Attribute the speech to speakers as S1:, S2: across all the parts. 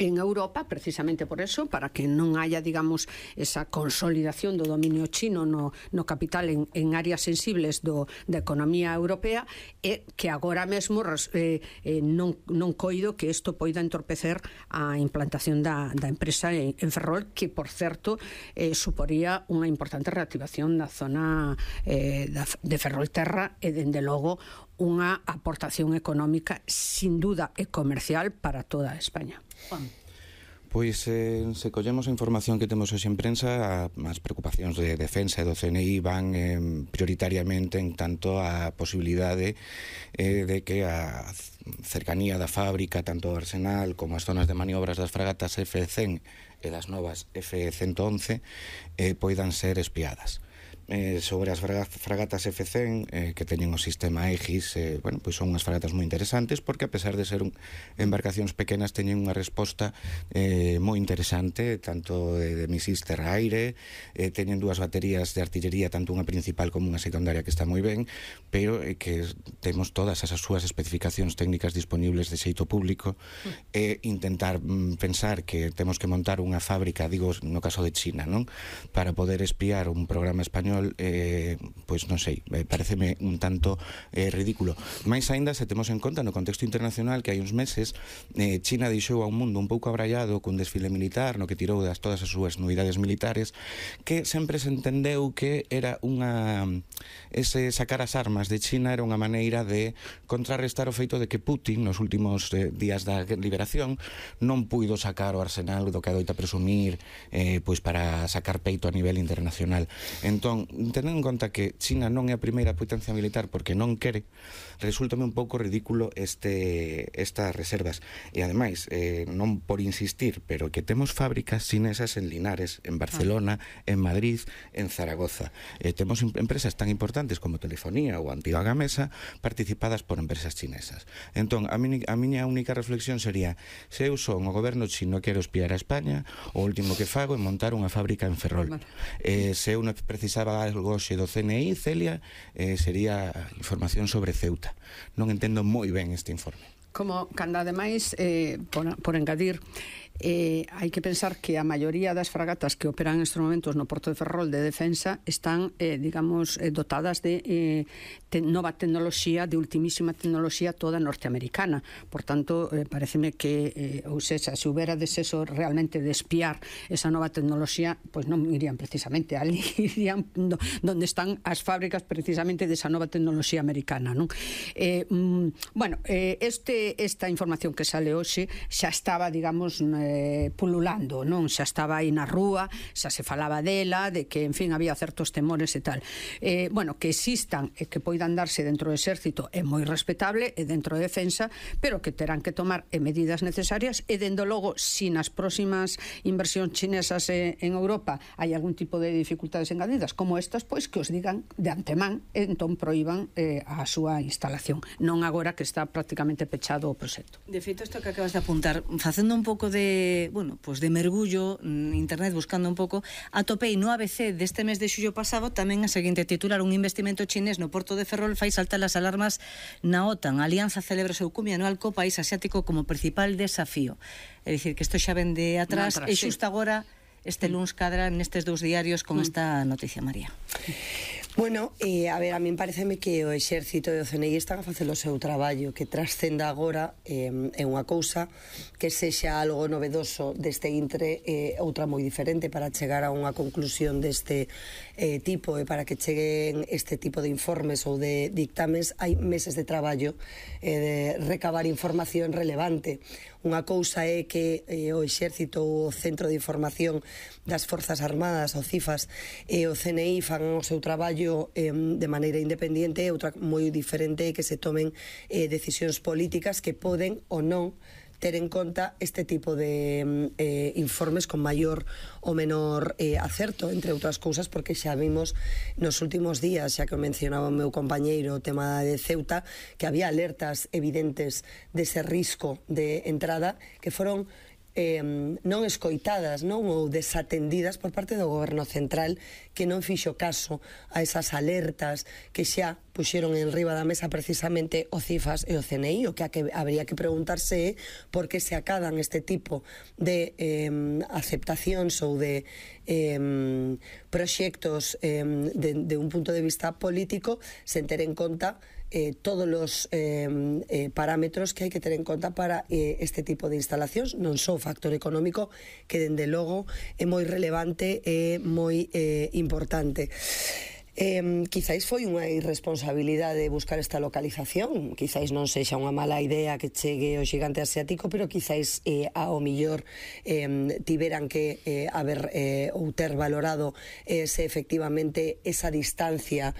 S1: en Europa, precisamente por eso, para que non haya, digamos, esa consolidación do dominio chino no capital en áreas sensibles da economía europea, e que agora mesmo non coido que isto poida entorpecer a implantación da empresa en Ferrol, que, por certo, suporía unha importante reactivación da zona de Ferrolterra e, dende logo, unha aportación económica sin duda e comercial para toda España. Juan.
S2: Pois se collemos a información que temos hoxe en prensa, as preocupacións de defensa e do CNI van prioritariamente en tanto a posibilidade de que a cercanía da fábrica, tanto o arsenal como as zonas de maniobras das fragatas F-100 e das novas F-111 poidan ser espiadas. Sobre as fragatas F-100 que teñen o sistema Aegis, pois son unhas fragatas moi interesantes, porque a pesar de ser embarcacións pequenas teñen unha resposta moi interesante, tanto de misís terra-aire, teñen dúas baterías de artillería, tanto unha principal como unha secundaria, que está moi ben, pero que temos todas as súas especificacións técnicas disponibles de xeito público, e intentar pensar que temos que montar unha fábrica, digo no caso de China, non, para poder espiar un programa español, pois non sei, pareceme un tanto ridículo. Mais aínda se temos en conta no contexto internacional que hai uns meses China deixou a un mundo un pouco abraiado cun desfile militar no que tirou todas as súas novidades militares, que sempre se entendeu que era ese sacar as armas de China era unha maneira de contrarrestar o feito de que Putin nos últimos días da liberación non puido sacar o arsenal do que adoita presumir pois para sacar peito a nivel internacional. Entón, tendo en conta que China non é a primeira potencia militar porque non quere, resúltame un pouco ridículo estas reservas. E ademais, non por insistir, pero que temos fábricas chinesas en Linares, en Barcelona, en Madrid, en Zaragoza. Temos empresas tan importantes como Telefonía ou Antigua Gamesa participadas por empresas chinesas. Entón, a miña única reflexión sería: se eu son o goberno chino e quero espiar a España, o último que fago é montar unha fábrica en Ferrol. Se eu non precisaba algo hoxe do CNI, Celia, sería información sobre Ceuta. Non entendo moi ben este informe.
S1: Como cando ademais, por engadir, hai que pensar que a maioría das fragatas que operan nestes momentos no Porto de Ferrol de defensa están, digamos, dotadas de nova tecnoloxía, de ultimísima tecnoloxía toda norteamericana. Por tanto, pareceme que, ou sexa, se houbera deseso realmente de espiar esa nova tecnoloxía, pois non irían precisamente ali, irían donde están as fábricas precisamente desa nova tecnoloxía americana, non? Bueno, esta información que sale hoxe xa estaba, digamos, pululando, non? Xa estaba aí na rúa, xa se falaba dela, de que, en fin, había certos temores e tal. Bueno, que existan e que poidan darse dentro do exército é moi respetable, e dentro de defensa, pero que terán que tomar medidas necesarias, e dende logo, si nas próximas inversións chinesas en Europa hai algún tipo de dificultades engadidas como estas, pois que os digan de antemán, e entón proíban a súa instalación, non agora que está prácticamente pechado o proxecto.
S3: De feito, isto que acabas de apuntar, facendo un pouco de, bueno, pues de mergullo en internet, buscando un pouco, atopei no ABC deste mes de xullo pasado tamén a seguinte titular: un investimento chinés no Porto de Ferrol fai saltar as alarmas na OTAN. A alianza celebra o seu cumio anual co país asiático como principal desafío. É dicir, que isto xa ven de atrás, e xusto agora este luns cadra nestes dous diarios con esta noticia, María.
S4: Bueno, a ver, a min pareceme que o exército e o CNI están a facer o seu traballo, que trascenda agora é unha cousa, que sexa algo novedoso deste intre, outra moi diferente para chegar a unha conclusión deste tipo, e para que cheguen este tipo de informes ou de dictames hai meses de traballo de recabar información relevante. Unha cousa é que o exército ou o Centro de Información das Forzas Armadas, o CIFAS, e o CNI fan o seu traballo de maneira independente, e outra moi diferente é que se tomen decisións políticas que poden ou non ter en conta este tipo de informes con maior ou menor acerto, entre outras cousas, porque xa vimos nos últimos días, xa que o mencionaba o meu compañeiro, o tema de Ceuta, que había alertas evidentes dese risco de entrada que foron non escoitadas, non, ou desatendidas por parte do goberno central, que non fixo caso a esas alertas que xa puxeron en riba da mesa precisamente o CIFAS e o CNI. O que habría que preguntarse é por que se acadan este tipo de aceptacións ou de proxectos de un punto de vista político, sen ter en conta todos os parámetros que hai que ter en conta para este tipo de instalacións, non só o factor económico, que dende logo é moi relevante e moi importante. Quizáis foi unha irresponsabilidade buscar esta localización, quizáis non sexa unha mala idea que chegue o xigante asiático, pero quizáis ao millor tiveran que haber ou ter valorado se efectivamente esa distancia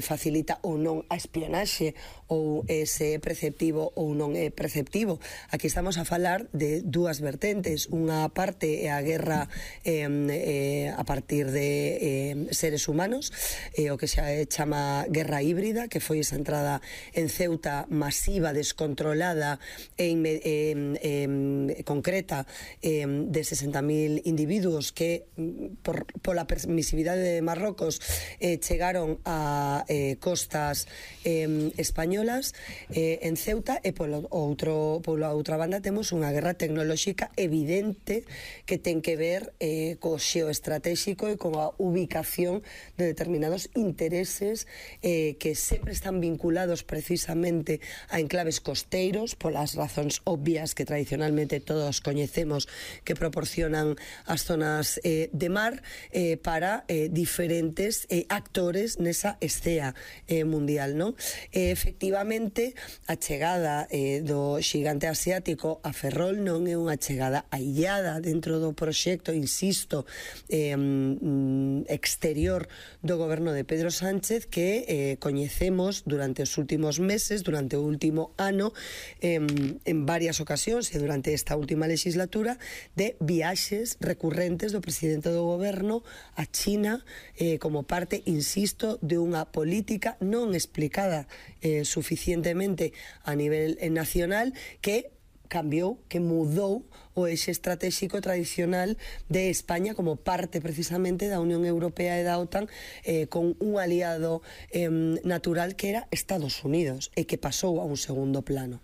S4: facilita ou non a espionaxe, ou se é preceptivo ou non é preceptivo. Aquí estamos a falar de dúas vertentes. Unha parte é a guerra a partir de seres humanos, o que xa chama guerra híbrida, que foi esa entrada en Ceuta masiva, descontrolada e concreta de 60.000 individuos que pola permisividade de Marrocos chegaron a costas españolas en Ceuta, e pola outra banda temos unha guerra tecnolóxica evidente que ten que ver co xeoestratégico e coa ubicación de determinados intereses que sempre están vinculados precisamente a enclaves costeiros, polas razóns obvias que tradicionalmente todos coñecemos que proporcionan as zonas de mar para diferentes actores nesa escena mundial, non? Efectivamente, a chegada do xigante asiático a Ferrol non é unha chegada aillada dentro do proxecto, insisto, exterior do goberno de Pedro Sánchez, que coñecemos durante os últimos meses, durante o último ano, en varias ocasións e durante esta última legislatura, de viaxes recurrentes do presidente do goberno a China como parte, insisto, de unha política non explicada suficientemente a nivel nacional, que cambiou, que mudou o eixe estratégico tradicional de España como parte precisamente da Unión Europea e da OTAN, con un aliado natural que era Estados Unidos, e que pasou a un segundo plano.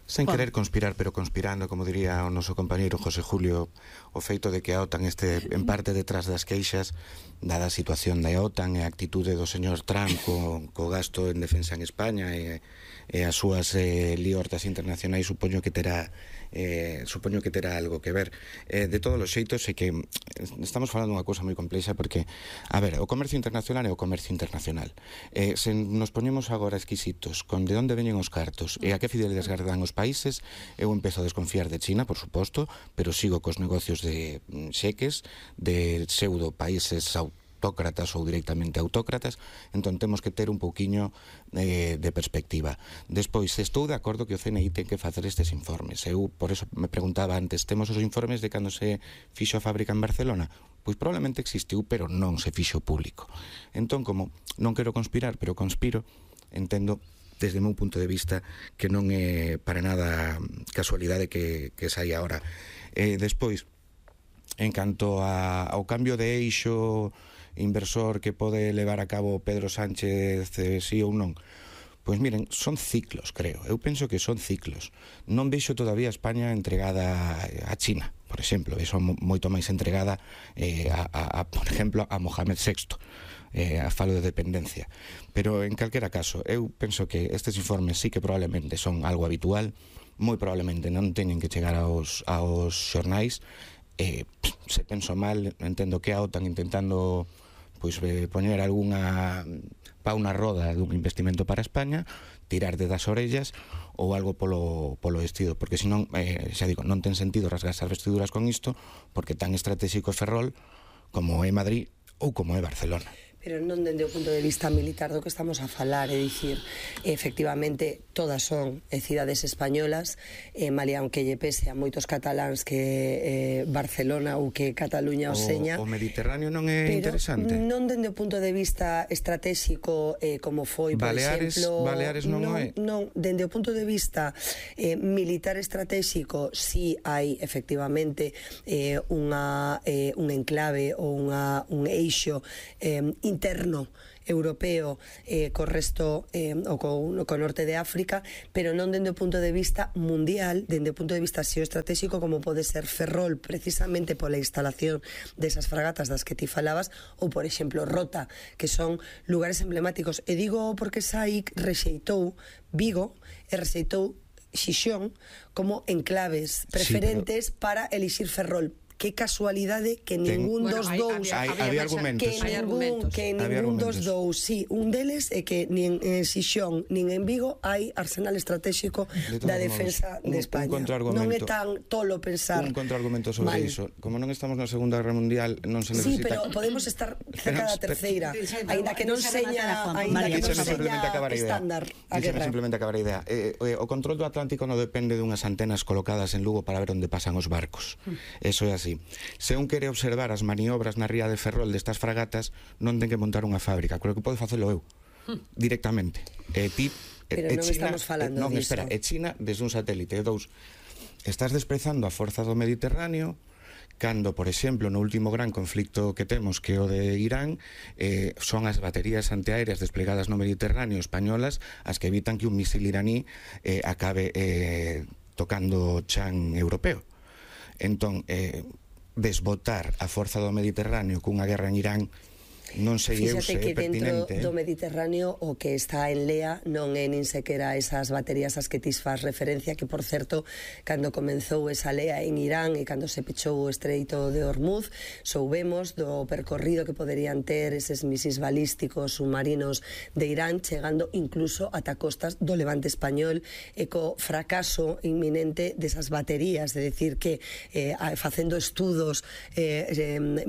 S2: Sen querer conspirar, pero conspirando, como diría o noso compañeiro José Julio, o feito de que a OTAN este en parte detrás das queixas, dada a situación da OTAN e a actitude do señor Trump co gasto en defensa en España e as súas liortas internacionais, supoño que terá algo que ver. De todos os xeitos, é que estamos falando dunha cousa moi complexa, porque, a ver, o comercio internacional é o comercio internacional. Se nos poñemos agora exquisitos con de onde veñen os cartos e a que fidelidades gardan os países, eu empezo a desconfiar de China, por suposto, pero sigo cos negocios de xeques, de pseudo países autócratas ou directamente autócratas. Entón temos que ter un pouquiño de perspectiva. Despois, estou de acordo que o CNI ten que facer estes informes. Eu, por eso me preguntaba antes, temos os informes de cando se fixo a fábrica en Barcelona? Pois probablemente existiu, pero non se fixo público. Entón, como non quero conspirar, pero conspiro, entendo desde o meu punto de vista que non é para nada casualidade que saia ahora. Despois, en canto ao cambio de eixo inversor que pode levar a cabo Pedro Sánchez, sí ou non, pois miren, son ciclos, creo. Eu penso que son ciclos. Non vexo todavía a España entregada a China, por exemplo. Vexo moito máis entregada por exemplo, a Mohamed VI. A falo de dependencia. Pero en calquera caso, eu penso que estes informes sí que probablemente son algo habitual, moi probablemente non teñen que chegar aos xornais. Se penso mal, entendo que a OTAN intentando poñer algunha pa unha roda dun investimento para España, tirarde das orellas ou algo polo vestido, porque senón, xa digo, non ten sentido rasgarse as vestiduras con isto, porque tan estratégico é Ferrol como é Madrid ou como é Barcelona.
S4: Pero non dende o punto de vista militar do que estamos a falar, é dicir, efectivamente todas son cidades españolas, malia aunque lle pese a moitos cataláns que Barcelona ou que Cataluña o seña.
S2: O Mediterráneo non é interesante?
S4: Non dende o punto de vista estratégico como foi, por exemplo...
S2: Baleares non é?
S4: Non, dende o punto de vista militar estratégico, si hai efectivamente un enclave ou un eixo interno europeo co resto o co norte de África, pero non dende o punto de vista mundial, dende o punto de vista xeoestratégico, como pode ser Ferrol, precisamente pola instalación desas fragatas das que ti falabas, ou por exemplo Rota, que son lugares emblemáticos. E digo porque SAIC rexeitou Vigo e rexeitou Xixón como enclaves preferentes para elixir Ferrol. Que casualidade que ningún dos dous
S2: había argumentos,
S4: que ningún dos dous, sí, un deles é que nin en Xixón nin en Vigo hai arsenal estratégico da defensa de España. Non é tan tolo pensar.
S2: Un contraargumento sobre iso. Como non estamos na Segunda Guerra Mundial, non se necesita.
S4: Sí, pero podemos estar cerca da terceira, aínda que non seña estándar a guerra.
S2: Simplemente acabar a idea. O control do Atlántico non depende dunhas antenas colocadas en Lugo para ver onde pasan os barcos. Eso é así. Se un quere observar as maniobras na ría de Ferrol destas fragatas, non ten que montar unha fábrica, creo que pode facelo eu directamente.
S4: Pero non estamos falando disso.
S2: Non, espera, e China desde un satélite. E dous, estás desprezando a forza do Mediterráneo cando, por exemplo, no último gran conflicto que temos, que é o de Irán, son as baterías antiaéreas desplegadas no Mediterráneo españolas as que evitan que un misil iraní acabe tocando o chan europeo. Entón, desbotar a forza do Mediterráneo cunha guerra en Irán non sei eu se é pertinente.
S4: Fíxate que dentro do Mediterráneo o que está en lea non é nin sequera esas baterías as que ti faz referencia, que por certo, cando comenzou esa lea en Irán e cando se pechou o estreito de Hormuz, soubemos do percorrido que poderían ter eses misis balísticos submarinos de Irán, chegando incluso ata costas do Levante español, e co fracaso inminente desas baterías, de decir que facendo estudos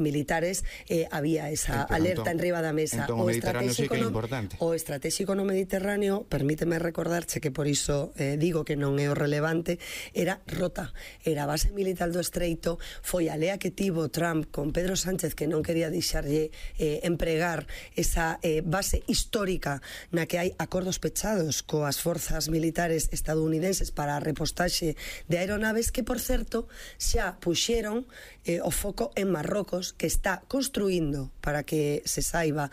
S4: militares había esa alerta en riba da mesa.
S2: Entón, o Mediterráneo sí que é importante.
S4: O estratégico no Mediterráneo, permíteme recordarche que por iso digo que non é o relevante, era Rota, era a base militar do estreito, foi a lea que tivo Trump con Pedro Sánchez, que non quería deixarlle empregar esa base histórica na que hai acordos pechados coas forzas militares estadounidenses para a repostaxe de aeronaves, que por certo xa puxeron o foco en Marrocos, que está construindo, para que se saiba,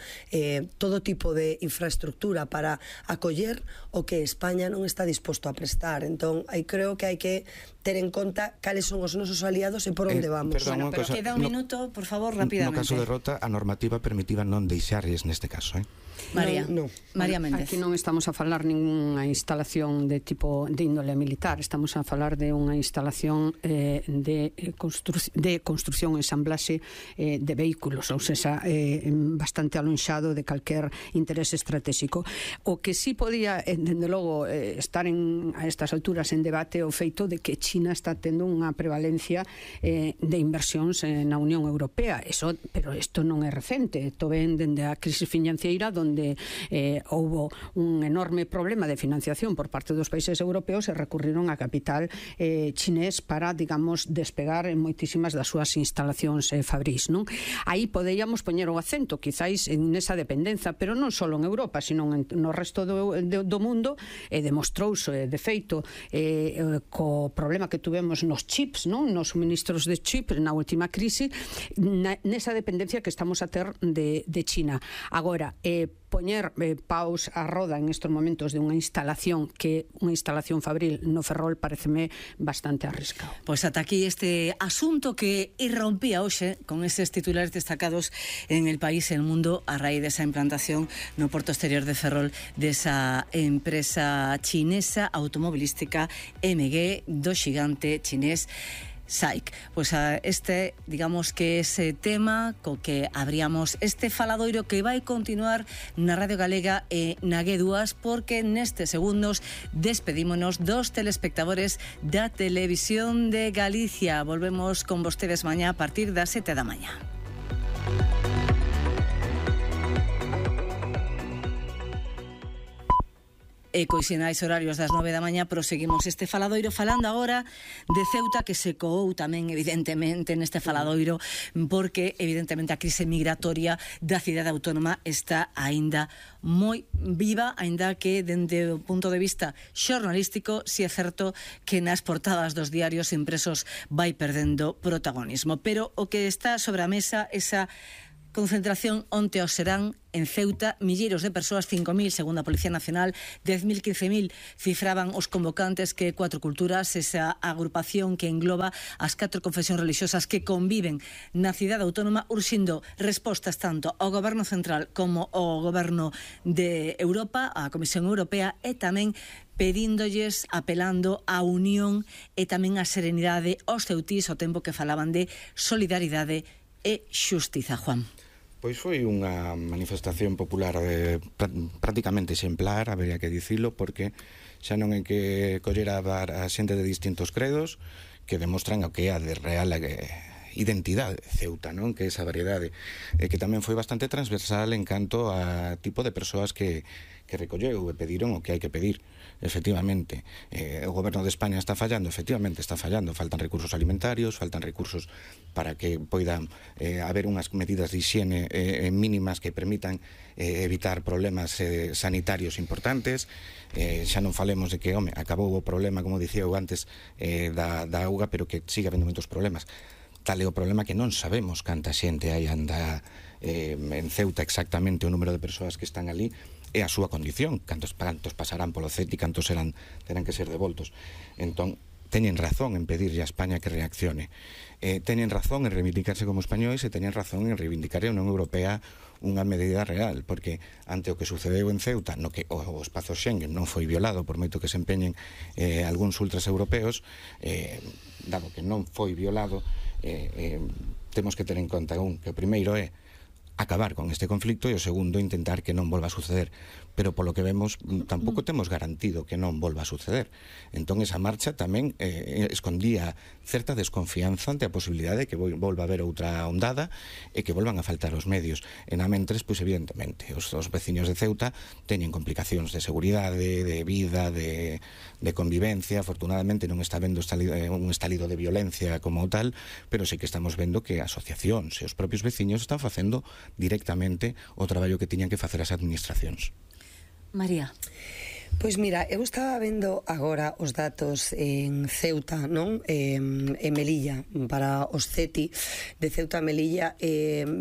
S4: todo tipo de infraestructura para acoller o que España non está disposto a prestar. Entón, creo que hai que ter en conta cales son os nosos aliados e por onde vamos.
S3: Bueno, pero queda un minuto, por favor, rapidamente.
S2: No caso de Rota, a normativa permitía non deixarlles neste caso,
S3: María Méndez.
S1: Aquí non estamos a falar ninguna instalación de tipo de índole militar, estamos a falar de unha instalación de construcción e ensamblaxe de vehículos, ou seja, bastante alonxado de calquer interés estratégico. O que sí podía, dende logo, estar a estas alturas en debate o feito de que China está tendo unha prevalencia de inversións na Unión Europea. Pero isto non é recente, isto ven dende a crisis financiera, onde houbo un enorme problema de financiación por parte dos países europeos e recurriron a capital chinés para, digamos, despegar en moitísimas das súas instalacións fabrís, non? Aí poderíamos poñer o acento, quizáis, en esa dependenza, pero non só en Europa, sino no resto do mundo, e demostrouse, de feito, co problema que tuvemos nos chips, non? Nos suministros de chips na última crise, nesa dependencia que estamos a ter de China. Agora, poñer paus a roda en estos momentos de unha instalación fabril no Ferrol pareceme bastante arriscado.
S3: Pois ata aquí este asunto que irrompía hoxe con eses titulares destacados en el país e el mundo a raíz desa implantación no porto exterior de Ferrol desa empresa chinesa automobilística MG do xigante chinés SAIC. Pois digamos que ese tema co que abríamos este faladoiro que vai continuar na Radio Galega e na G2, porque nestes segundos despedímonos dos telespectadores da Televisión de Galicia. Volvemos con vostedes mañá a partir das 7 da mañá. e cois sinais horarios das 9 da mañá proseguimos este faladoiro falando agora de Ceuta, que se coou tamén evidentemente neste faladoiro porque evidentemente a crise migratoria da cidade autónoma está aínda moi viva, aínda que dende o punto de vista xornalístico si é certo que nas portadas dos diarios impresos vai perdendo protagonismo, pero o que está sobre a mesa esa concentración onte ao serán en Ceuta, milleiros de persoas, 5.000 segundo a Policía Nacional, 10.000, 15.000 cifraban os convocantes, que 4 culturas, esa agrupación que engloba as 4 confesións religiosas que conviven na cidade autónoma, urxindo respostas tanto ao Goberno Central como ao Goberno de Europa, á Comisión Europea, e tamén pedíndolles, apelando á unión e tamén á serenidade aos ceutís, ao tempo que falaban de solidaridade e xustiza, Juan.
S2: Pois foi unha manifestación popular prácticamente exemplar, habería que dicilo, porque xa non é que collera a xente de distintos credos que demostran o que é a de real identidade de Ceuta, non? Que é esa variedade, que tamén foi bastante transversal en canto a tipo de persoas que recolleu e pediron o que hai que pedir. Efectivamente, o goberno de España está fallando, efectivamente está fallando, faltan recursos alimentarios, faltan recursos para que poidan haber unhas medidas de higiene mínimas que permitan evitar problemas sanitarios importantes. Xa non falemos de que, acabou o problema, como dicía eu antes, da auga, pero que siga habendo moitos problemas. Tal é o problema que non sabemos canta xente hai anda en Ceuta exactamente o número de persoas que están ali e a súa condición, cantos pasarán polo CETI, cantos terán que ser devoltos. Entón, teñen razón en pedirlle a España que reaccione. Teñen razón en reivindicarse como españois e teñen razón en reivindicar a Unión Europea unha medida real, porque ante o que sucedeu en Ceuta, no que o espazo Schengen non foi violado, por moito que se empeñen algúns ultras europeos, dado que non foi violado, temos que ter en conta que o primeiro é acabar con este conflicto e o segundo intentar que non volva a suceder, pero polo que vemos tampouco temos garantido que non volva a suceder. Entón esa marcha tamén escondía certa desconfianza ante a posibilidade de que volva a haber outra ondada e que volvan a faltar os medios. E na mentres, pois evidentemente os veciños de Ceuta teñen complicacións de seguridade, de vida, de convivencia. Afortunadamente non está vendo un estalido de violencia como tal, pero sí que estamos vendo que asociacións e os propios veciños están facendo directamente o traballo que tiñan que facer as administracións.
S3: María.
S4: Pois mira, eu estaba vendo agora os datos en Ceuta, non? En Melilla, para os CETI de Ceuta a Melilla,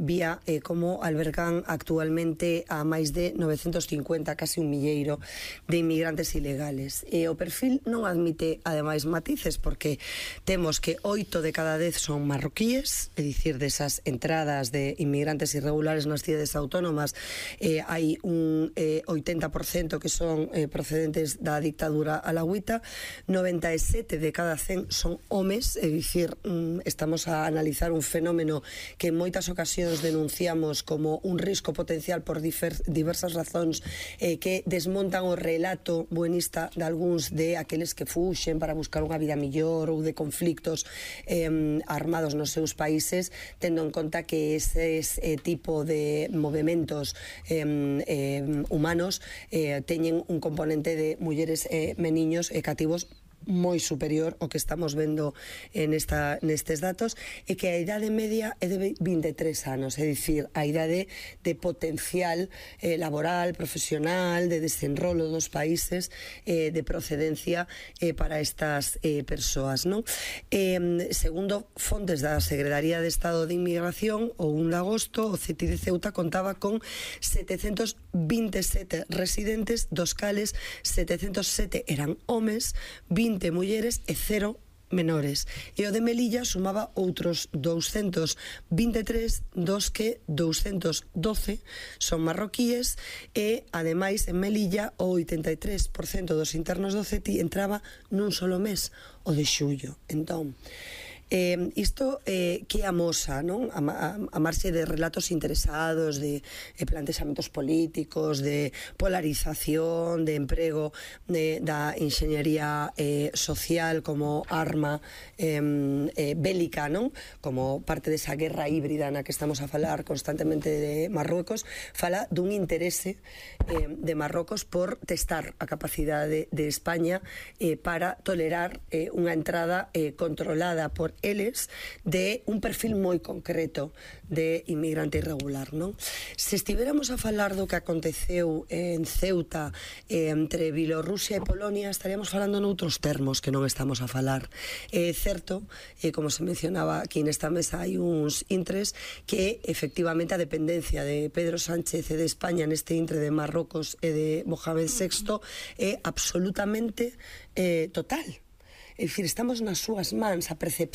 S4: vía como albergan actualmente a máis de 950, casi un milleiro de inmigrantes ilegales. E o perfil non admite, ademais, matices, porque temos que 8 de cada 10 son marroquíes, é dicir, desas entradas de inmigrantes irregulares nas cidades autónomas, hai un 80% que son procedentes da dictadura alagüita, 97 de cada 100 son homes, é dicir, estamos a analizar un fenómeno que en moitas ocasións denunciamos como un risco potencial por diversas razóns que desmontan o relato buenista de algúns de aqueles que fuxen para buscar unha vida millor ou de conflictos armados nos seus países, tendo en conta que ese tipo de movementos humanos teñen un componente de mulleres e meniños e cativos moi superior ao que estamos vendo nestes datos, e que a idade media é de 23 anos, é dicir, a idade de potencial laboral, profesional, de desenrolo dos países, de procedencia para estas persoas, non? Segundo fontes da Secretaría de Estado de Inmigración, o 1 de agosto, o CETI de Ceuta contaba con 727 residentes, dos cales 707 eran homes, 20 mulleres e 0 menores. E o de Melilla sumaba outros 223, dos que 212 son marroquíes, e ademais en Melilla o 83% dos internos do CETI entraba nun solo mes, o de xullo. Entón, Isto que amosa, non? A marxe de relatos interesados, de plantexamentos políticos, de polarización, de emprego da enxeñería social como arma bélica, non? Como parte desa guerra híbrida na que estamos a falar constantemente de Marruecos, fala dun interese de Marrocos por testar a capacidade de España para tolerar unha entrada controlada por eles de un perfil moi concreto de inmigrante irregular, non? Se estivéramos a falar do que aconteceu en Ceuta entre Bielorrusia e Polonia, estaríamos falando noutros termos que non estamos a falar. É certo, como se mencionaba aquí nesta mesa, hai uns intres que efectivamente a dependencia de Pedro Sánchez e de España neste intre de Marrocos e de Mohamed VI é absolutamente total. É dicir, estamos nas súas mans, a percepción